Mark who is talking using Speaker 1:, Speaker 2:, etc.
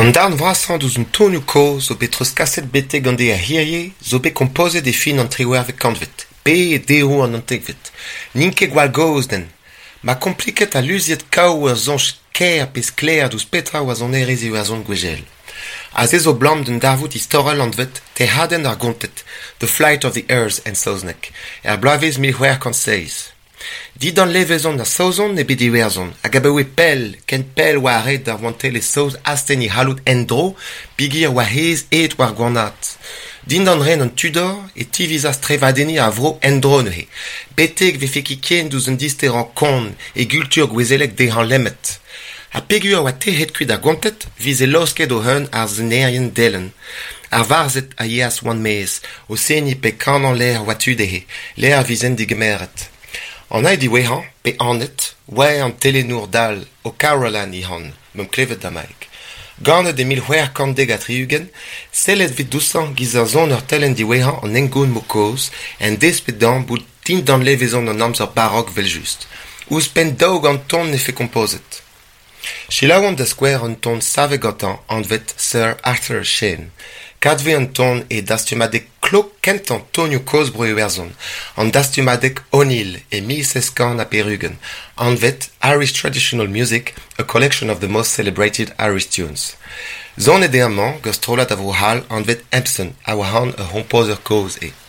Speaker 1: An darn vrasañ deus an tonioù kozh zo bet treuzkaset betek an deiz a hirie zo bet kompozet e fin an triwec'hvet kantved pe e deroù an naontekvet. N'int ket gwall gozh den. Ma kompliket ha luziet kaout ur soñj kaer pe sklaer deus petra oa sonerezh Iwerzhon gwechall. Ha se zo 'blam d'un darvoud istorel anvet Tec'hadenn ar Gonted, The Flight of the Earls en saozneg, er bloavezh 1607. Dindan levezon ar Saozon eo bet Iwerzhon hag abaoe pell, ken pell oa ret d'ar rouantelezh saoz astenn e c'halloud en-dro peogwir oa aes aet war gwanaat. Dindan ren an Tudor e tivizas trevadenniñ ar vro en-dro neuze, betek 'vefe ket ken diouzh un disterañ kont e gultur gouezelek dezhañ lemmet. Ha peogwir oa tec'het kuit ar Gonted 'vize laosket o-un ar sonerien delenn. Ar varzhed a yeas war-maez, o seniñ pe kanañ lec'h oa tu dezhe, lec'h 'vezent degemeret. An hini diwezhañ, pe anvet, oa an telennour dall O'Carolan e anv, 'meump klevet damaik. Ganet e 1670, sellet 'vez dioutañ 'giz ar soner telenn diwezhañ an hengoun mod kozh, en desped dezhañ bout dindan levezon an amzer barok evel-just. Ouzhpenn 200 ton 'nefe kompozet. Selaouomp da skouer un ton savet gantañ anvet Sir Arthur Shane. Kavet 'vez an ton e dastumadeg klok kentañ tonioù kozh Bro-Iwerzhon, an dastumadeg O'Neill e 1780, anvet Irish Traditional Music, a collection of the most celebrated Irish tunes. Sonet eo amañ gant strollad a Vro-C'hall anvet Hampson, a oa anv ur c'hompozer kozh eo.